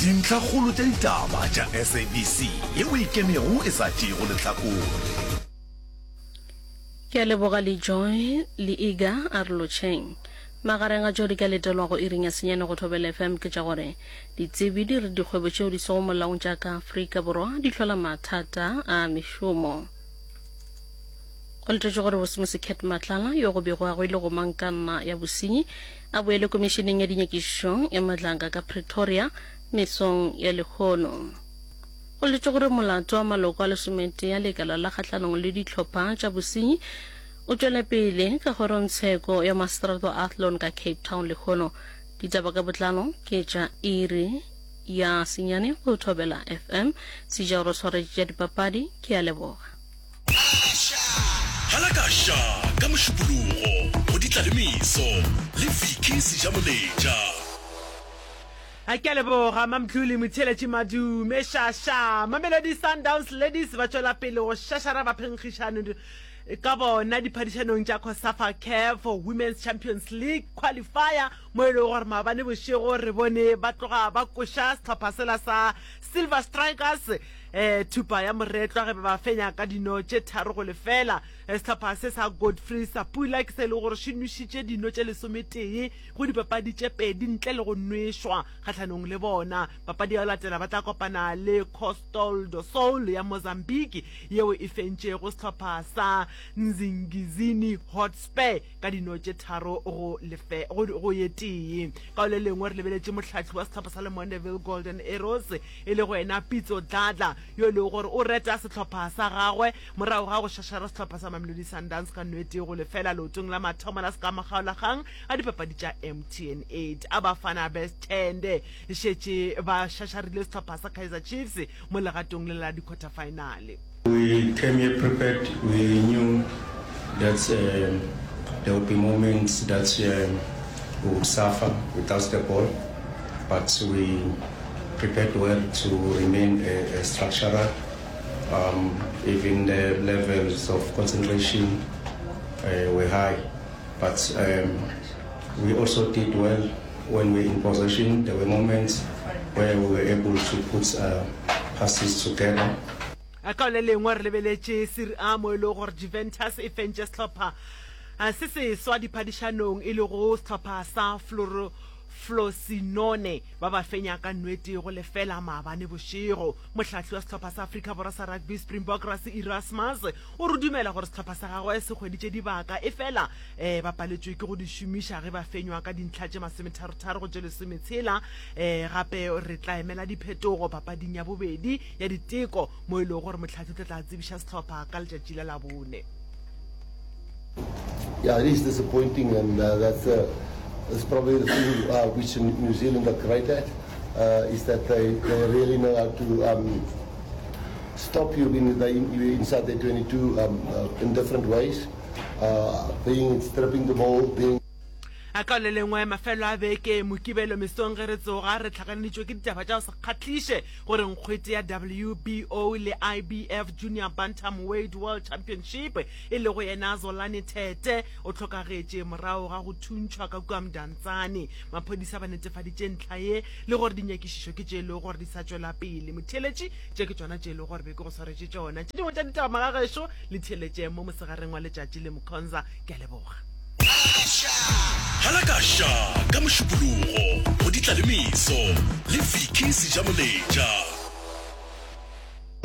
Dintlhakgolo tša ditaba tša SABC yeo e ikemego e sa tšeego lehlakore. Ke a leboga le Joy le Iga a re lotšheng. Magareng ga tšeo di ka letelwago iring ya senyane go Thobela FM ke tša gore ditsebi di re dikgwebo tšeo di sego molaong tša ka Afrika Borwa di hlola mathata a mešomo. Go letetšwe gore Bosimosi Cat Matlala yo go begwago e le gomangkanna ya bosenyi a boele komišeneng ya dinyakišišo ya Madlanga ka Pretoria mesong ya lehono. Go letetšwe gore molato wa maloko a lesometee a lekala la kgahlanong le dihlopha tša bosenyi o tšwele pele ka kgorongtsheko ya maseterata wa Athlone ka Cape Town lehono. Ditaba ka botlalo ke tša iri ya senyane go Thobela FM. Seja o re swaretše tša dipapadi. Ke a leboga. Halakaša ka Mošupologo go Ditlalemeso le Vicky Sejamoletša. A ke a leboga Mamdluli Motheeletši Madume Šaša. Mamelodi Sundowns Ladies ba tšwela pele go šašara baphenkgišani ka bona diphadišanong tša COSAFA CAF Women's Champions League Qualifier mo e lego gore maabane bošego re bone ba tloga ba koša sehlopha sela sa Silver Strikers Thupa ya moretlwa ge ba ba fenya ka dino tše 3-0. Sehlopha se sa Godfrey Sapula ke se e lego gore se nwešitše dino tše lesometee go dipapadi tše pedi ntle le go nwešwa kgahlanong le bona. Papadi ya go latela ba tla kopana le Costal do Sol ya Mozambique yeo e fentšego sehlopha sa Nzingizini Hotspur ka dino tše 3 go lefe go go ye tee. Ka go le lengwe re lebeletše mohlahli wa sehlopha sa Lemondeville Golden Arrows e lego yena Pitso Dladla, yo e lego gore o reta sehlopha sa gagwe morago ga go šašara sehlopha sa Mamelodi Sundowns ka 1-0 leotong la mathomo la sekamakgaolakgang a dipapadi tša MTN 8. A Bafana Bes'thende šetše ba šašarile sehlopha sa Kaizer Chiefs mo legatong le la di-quarter-final. We came here prepared, we knew that there would be moments that we would suffer without the ball, but we prepared well to remain a, a structural, um, even the levels of concentration uh, were high. But um, we also did well when we were in possession. There were moments where we were able to put uh, passes together. Ka le lengwe re lebeletše Serie A mo e lego gore Juventus e fentše sehlopha se seswa diphadišanong e lego sehlopha sa Frosinone ba ba fenya ka nwete go lefela maabane bošego. Mohlahli wa sehlopha sa Afrika Borwa sa rugby Springbok Rassie Erasmus o re dumela gore sehlopha sa gagwe se hweditše dibaka efela um ba paletšwe ke go di šomiša ge ba fenywa ka dintlha tše masometharotharo go tše lesometshela. Um gape re tla emela diphetogo papading ya bobedi ya diteko mo e lego gore mohlahli o tla tla tsebiša sehlopha ka letšatši la Labone. Yeah, it is disappointing, and uh, that's, uh, that's probably the thing uh, which New Zealand are great at, uh, is that they, they really know how to um, stop you in the, in, inside their 22 um, uh, in different ways, uh, being stripping the ball, being A Ka le lengwe mafelo a beke, Mokibelo mesong ge re tsoga, re hlakaneditšwe ke ditaba tša go se kgahliše gore nkgwete ya WBO le IBF Junior Bantamweight World Championship e lego yena Zolani Tete o hlokagetše morago ga go thuntšhwa ka kua Mdantsane. Maphodisa ba netefaditše ntlha ye le gore dinyakišišo ke tše e lego gore di sa tšwela pele. Motheeletši, tše ke tšona tše e lego gore be ke go swaretše tšona. Tše dingwe tša ditaba magagešo le theeletše mo mosegareng wa letšatši le Mkhonza. Ke a leboga. Halakaša ka Mošupologo go Ditlalemeso le Vicky Sejamoletša.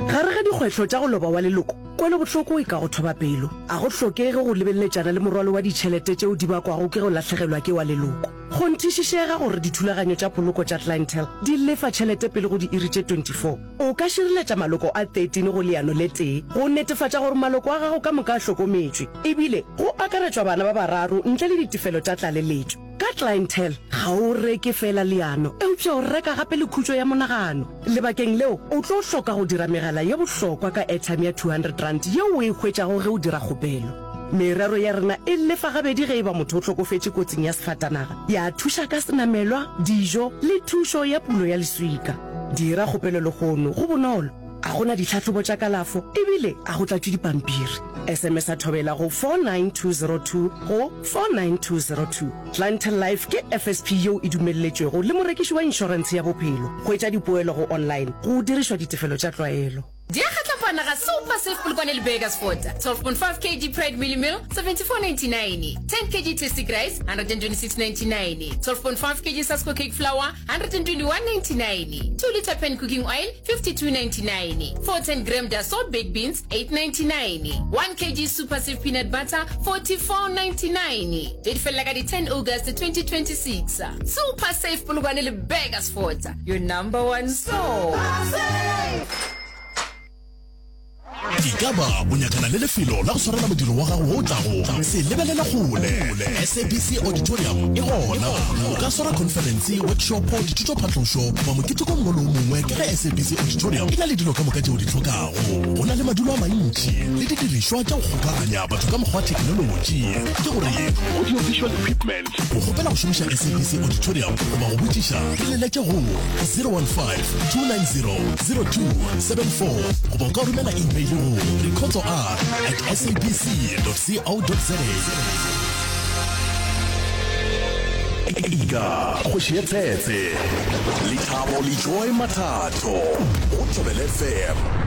Gare ga dikgwehlo tša go loba wa leloko, kwelobohloko e ka go thoba pelo. A go hlokege go lebeletšana le morwalo wa ditšhelete tšeo di bakwago ke go lahlegelwa ke wa leloko. Kgonthišišega gore dithulaganyo tša poloko tša Clientele di lefa tšhelete pele go diiri tše 24. O ka šireletša maloko a 13 go leano le tee go netefatša gore maloko a gago ka moka a hlokometšwe, ebile go akaretšwa bana ba bararo ntle le ditefelo tša tlaleletšo. Ka Clientele, ga o reke feela leano, eupša o reka gape le khutšo ya monagano. Lebakeng leo, o tlo hloka go dira megala ye bohlokwa ka airtime ya R200 yeo o e hwetšago ge o dira kgopelo. Merero ya rena e lefa gabedi ge e ba motho o hlokofetše kotsing ya sefatanaga, ya thuša ka senamelwa, dijo le thušo ya pulo ya leswika. Dira kgopelo lehono, go bonolo, ga go na ditlhahlobo tša kalafo e bile ga go tlatšwe dipampiri. SMS-a Thobela go 49202 go 49202. Clientele Life ke FSP yeo e dumelletšwego le morekiši wa inšorentshe ya bophelo. Hwetša dipoelo go online go dirišwa ditefelo tša tlwaelo. Di a kgatlapana ga Super Save Polokwane le Burgersfort. 12.5 kg Pride Mealie Meal, 74.99. 10 kg Tasty Rice, 126.99. 12.5 kg Sasko Cake Flour, 121.99. 2 litre pan cooking oil, 52.99. 410 gram Dassault baked beans, 8.99. 1 kg Super Save peanut butter, 44.99. Tše di felela ka di 10 August 2026. Super Save Polokwane le Burgersfort, your number one store. Ekaba o nyakana le lefelo la go swarela modiro wa gago wo o tlago? Se lebelela kgole. SABC Auditorium e gona. O ka swara khonferense, workshopo, dithutophatlošo goba moketeko o mongwe le o mongwe ka ge SABC Auditorium e na le dilo ka moka tše o di hlokago. Go na le madulo a mantši le didirišwa tša go kgokaganya batho ka mokgwa wa theknolotši, ke gore audio-visual equipment. Go kgopela go šomiša SABC Auditorium goba go botšiša, re leletše go 015 290 0274 goba o ka romela email go rikhotsoR at sabc.co.za. Ika kgoši ya tshetse Lethabo le Joy Mathatho go Thobela FM.